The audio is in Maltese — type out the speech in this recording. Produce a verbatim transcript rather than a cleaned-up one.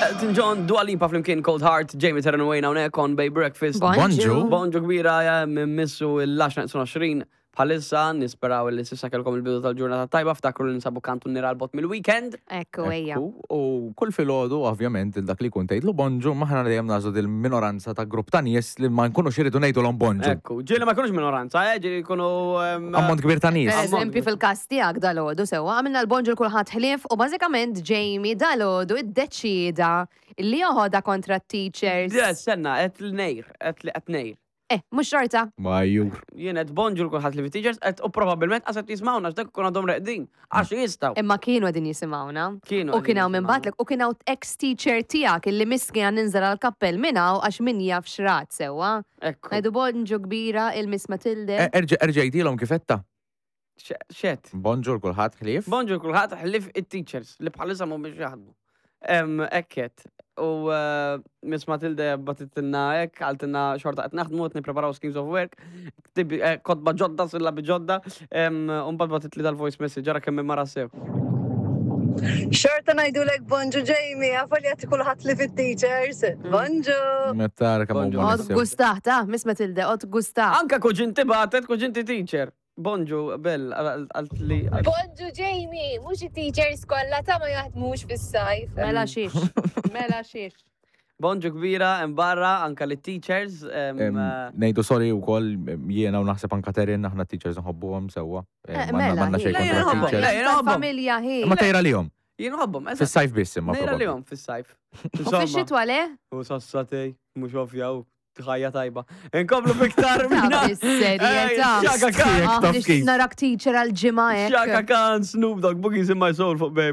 Elton John, Dua Lipa flimkien Cold Heart, Jamie Terran Wayne hawnhekk on Bay Breakfast. Bonġu. Bonġu kbira, ja, minn missu l-għaxra neqsin għoxrin bħalissa, nisperaw li s'issa kellkom il-bidu tal-ġurnata tajba, ftakru li ninsabu kantuniera 'l bogħod mill-weekend. Ekku, ejja. Ekku, u kull filgħodu, ovvjament, il dak li kun tgħidlu bonġu, aħna dejjem nagħżlu dil-minoranza ta' grupp ta' nies li ma nkunux iridu ngħidulhom bonġu. Ekku, ġieli ma jkunux minoranza, eh, ġieli jkunu em, Ammont kbir ta' nies. Per eżempju, fil-kas tiegħek dalgħodu sewwa, għamilna l-bonġu kulħadd ħlief u bażikament Jamie dalgħodu iddeċida li joħodha kontra teachers. Yes, senna, qed l-nejr, qed li qed nejr. Eh, mhux xorta. Majjur. Jien qed bonġu kulħadd li fi teachers, qed u probabbilment qas qed jismawna x'dak ikun għadhom reqdin. Għax jistgħu. Imma kienu qegħdin jisimgħuna. Kienu U kien hawn minn qegħdin batlek u kien hawn ex-teacher tiegħek illi miskin għan ninżel għal-kappell minn hawn għax min jaf xrat sewwa. Ekku. Ngħidu bonġu kbira il-Miss Matilde. Erġa' erġa' għidilhom kif għedtha. Xet. Bonġu kulħadd ħlief. Bonġu kulħadd ħlief it-teachers li bħalissa mhumiex jaħdmu. Em, Ekket. U eh, Miss Matilde bagħtitilna hekk, qaltilna xorta qed naħdmu, qed nippreparaw schemes of work, ktibi- eh, kotba ġodda, sillabi ġodda, em, u mbagħad bagħtitli dal-voice message, ara kemm mara sew. Xorta ngħidulek bonġu Jamie, għafal jgħati kulħadd li fit-teachers. Bonġu! Mettar kemm Bonġu. huma Oqgħod nies sew. gustaħ, ta' Miss Matilde, oqgħod gustaħ. Anka kuġinti bagħtet, kuġinti teacher. Bonġu, Bell, għalt li. Bonġu Jamie, mhux it-teachers kollha ta' ma jaħdmux fis-sajf. Mela xiex, mela xiex. Bonġu kbira, barra, anka li teachers. em, Em, eh, Ngħidu sorry wkoll jiena u naħseb anka Terin aħna teachers nħobbuhom sewwa. Eh, Em, M'għandna mela, m'għandna xejn Le, kontra jien nħobbhom, teachers. le, jien nħobbhom. Familja hi. Imma tejra lihom. Jien nħobbhom, eżatt. Fis-sajf biss imma Nejra probabbli. lihom fis-sajf. U fix-xitwa le? U sassatej, mhux ovvja, u ħajja tajba. Inkomplu biktar Ta' minna. bis-serjetà. Chaka Khan, Ah, Taf nixtieq kif. narak teacher għal-ġimgħa Chaka hekk. Khan, Snoop Dogg, Boogies in my soul fuq Bay.